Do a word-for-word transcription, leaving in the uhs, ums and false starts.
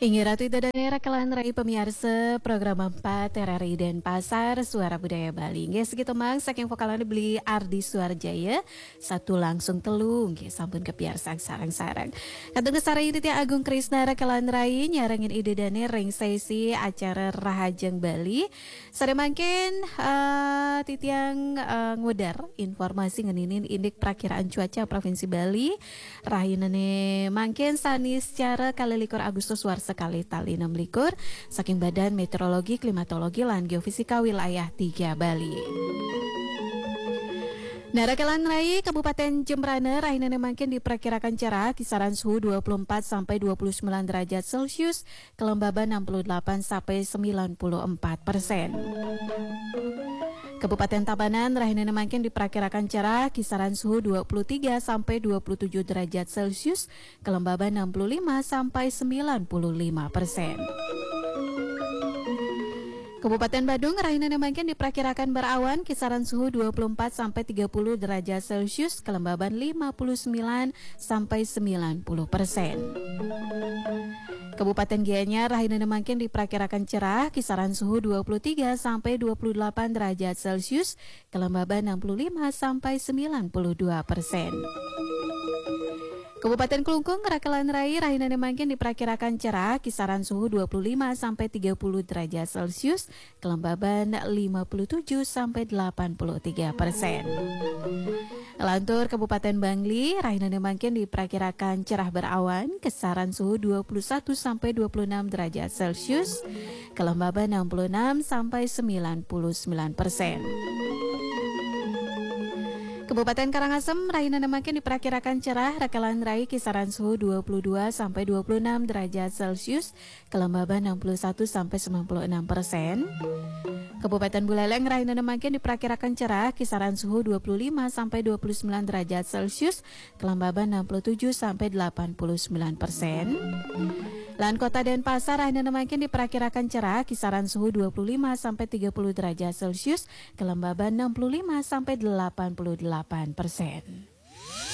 Inggih Ratu Ida Dané, raka lan rai pamiarsa program empat R R I Denpasar, Suara Budaya Bali. Inggih, sakitu mang saking vokalna Beli Ardi Suarjaya, satu langsung telu, inggih sampun kapiarsang sareng-sareng. Kantun sareng Ditya Agung Krisna, raka lan rai nyarengin Ida Dané ring sesi acara Rahajeng Bali. Sareng mangkin, eh, titiang, eh, ngwedar informasi ngeninin indik prakiraan cuaca Provinsi Bali. Rahinané mangkin Saniscara kalih likur Agustus warsa kalih tali enam likur, saking Badan Meteorologi, Klimatologi, lan Geofisika Wilayah tiga Bali. Nah, raka lan rai, Kabupaten Jembrana rahinané mangkin diperkirakan cerah, kisaran suhu dua puluh empat sampai dua puluh sembilan derajat Celcius, kelembaban enam puluh delapan sampai sembilan puluh empat persen. Kabupaten Tabanan rahinané mangkin diperkirakan cerah, kisaran suhu dua puluh tiga sampai dua puluh tujuh derajat Celcius, kelembaban enam puluh lima sampai sembilan puluh lima persen. Kabupaten Badung rahinané mangkin diperkirakan berawan, kisaran suhu dua puluh empat sampai tiga puluh derajat Celcius, kelembaban lima puluh sembilan sampai sembilan puluh persen. Kabupaten Gianyar rahinané mangkin diperkirakan cerah, kisaran suhu dua puluh tiga sampai dua puluh delapan derajat Celcius, kelembaban enam puluh lima sampai sembilan puluh dua persen. Kabupaten Klungkung, raka lan rai, rahinané mangkin diperkirakan cerah, kisaran suhu dua puluh lima sampai tiga puluh derajat Celcius, kelembaban lima puluh tujuh sampai delapan puluh tiga persen. Lantur Kabupaten Bangli, rahinané mangkin diperkirakan cerah berawan, kisaran suhu dua puluh satu sampai dua puluh enam derajat Celcius, kelembaban enam puluh enam sampai sembilan puluh sembilan persen. Kabupaten Karangasem, rahinané mangkin diperkirakan cerah, raka lan rai, kisaran suhu dua puluh dua sampai dua puluh enam derajat Celcius, kelembaban enam puluh satu sampai sembilan puluh enam persen. Kabupaten Buleleng rahinané mangkin diperkirakan cerah, kisaran suhu dua puluh lima sampai dua puluh sembilan derajat Celcius, kelembaban enam puluh tujuh sampai delapan puluh sembilan persen. Lan Kota Denpasar rahinané mangkin diperkirakan cerah, kisaran suhu dua puluh lima sampai tiga puluh derajat Celcius, kelembaban enam puluh lima sampai delapan puluh delapan persen.